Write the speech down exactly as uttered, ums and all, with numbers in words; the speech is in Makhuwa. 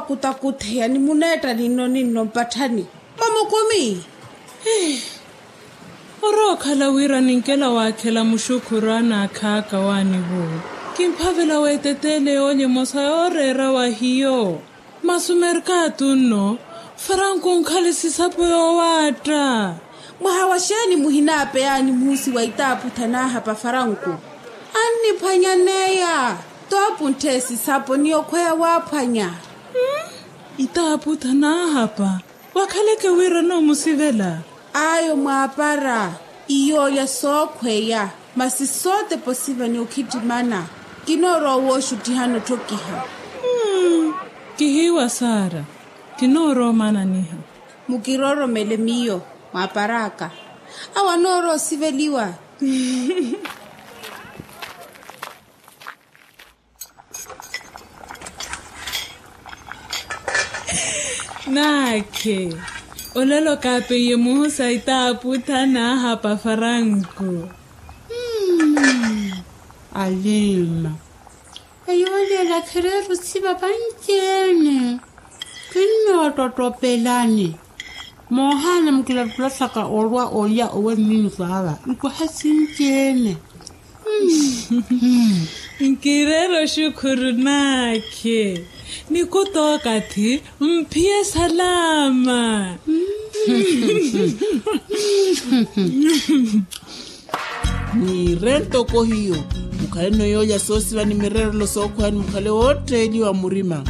Kutakutheya ni muneetta ninno ninno mpatthani mwa mukumi. Orookhala wira ninkela waakhela muxukhuru anaakhaka waanivo, kimphavela weeteteele yoolya emosa yooreera wa hiyo. Masi omerkatu nno, faranku onkhale sisapo yoowaatta. Mwaha wa xeeni muhinaapeyaani muhusi wa itaaputha naahapa faranku? Anniphwanyaneya. Toopuntthe sisapo ni okhweya waaphwanya. Itaaputha naahapa. Wakhaleke wira noomusivela. Ayo mwaapara. Iyoolya sookhweya. Masi sootepa osiva ni okhittimana. Kinoorowa wooxuttihana otthokiha. Kihiiwa saara. Kinoorowa omananiha. Mukirooromele miyo mwaapar'aka. Awo anoorowa osiveliwa. Naakhe. Olelo kaapeiye muhusa itaaputha naahapa faranku. Alima. Eyo oleela khireera osiva vanci-ene. Kinnoottottopelani. Moohaana mukilattulattaka olwa olya owe mmiiniko aava nkoha sinci-ene. Nkireera oxukhuru naakhe. Nikutookathi mphiye salaama. Niire ntoko hiyo. Mukhale noyoolya soosiva ni mireerelo sookhweya ni mukhale wootteeliwa murima.